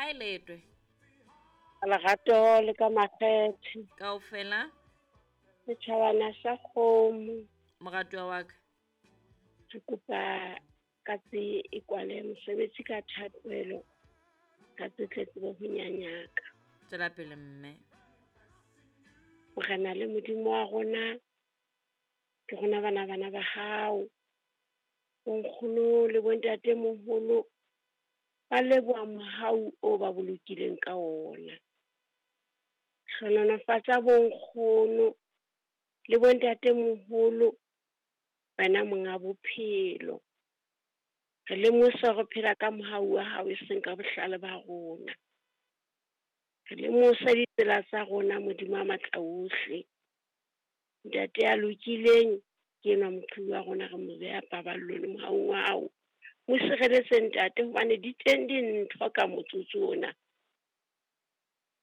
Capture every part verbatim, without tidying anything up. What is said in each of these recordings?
kae letwe? Lerato le ka makgethe. Kaofela. Setjhabana sa kgomo. Moratuwa wa ka. Re kopa katse e kwale mosebetsi ka thapelo. Katse tle tsebe ho nyanyaka. Tswela pele mme. Morena le Modimo wa rona, ke rona bana bana ba hao. Bonkgono le bontate moholo ba leboha mohau o ba bolokileng ka ona. Hlohonolofatsa bonkgono le bontate moholo, wena monga bophelo. Re lemosa re phela ka mohau wa hao e seng ka bohlale ba rona. Re lemosa ditsela tsa rona Modimo a matla ohle. Ntate ya lokileng ke enwa moqhibi wa rona, re mo beha paballong le mohaung wa hao. Mo sireletse ntate hobane di teng dintho ka motsotso ona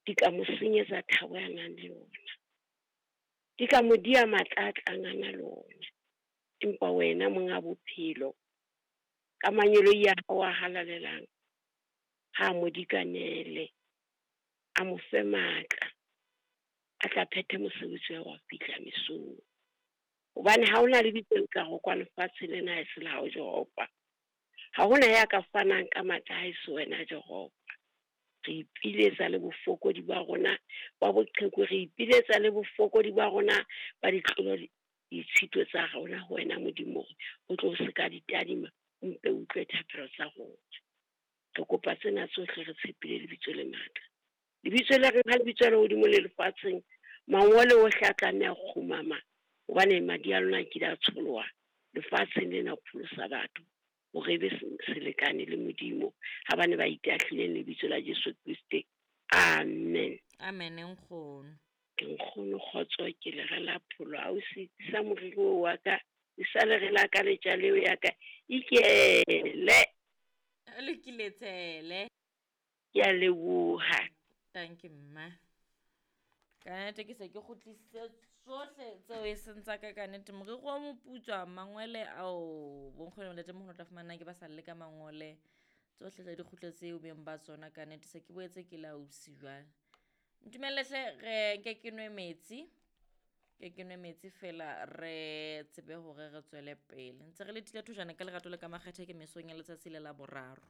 di ka mo senyetsa thabo ya nang le yona. Di ka mo dia matla a tlang a na le ona. Empa wena monga bophelo ka mangeloi a hao a halalelang ha mo dikanele, a mo fe matla a tla phethe mosebetsi wa fihla mesong. Hobane ha hona lebitso le ka rokwa lefatshe lena ha e se la hao Jehova. Ha hona ya ka fanang ka matla ha e se wena Jehova. Re ipiletsa le bofokodi ba rona ba boqheku, re ipiletsa le bofokodi ba rona ba ditlolo ditshito tsa rona ho wena Modimo, o tlo se ka di tadima, o mpe utlwe thapelo tsa rona. Re kopa tsena tsohle re tshepile lebitso le matla. Lebitso le reng ha lebitso le hodimo le lefatsheng, mangole ohle a tlameha ho kgumama hobane madi a lona a kile a tsholoha lefatsheng lena ho pholosa batho hore ebe selekane le Modimo ha bane ba itahlileng lebitso la Jesu Kriste. Amen. Amen nkgono. Ke nkgono kgotso ke le re la pholo ha o se sa moriri wa ka e sa le re la ka letja leo ya ka ikele. Lokile tshele. Ke a leboha. Thank you mma. Ka nnete ke se ke kgutlisitse tsohle tseo e seng tsa ka ka nnete. Moriri wa moputswa, mangwele ao bonkgono le ntatemoholo tla fumana ke ba sa le ka mangole. Tsohle tsa di kgutletse eo beng ba tsona ka nnete. Se ke boetse ke la ausi jwale. Ntumelle hle re nke ke nwe metsi. Ke ke nwe metsi fela re tsebe hore re tswele pele. Ntse re letile thojana ka lerato le ka makgethe ke mesong ya letsatsi le la boraro.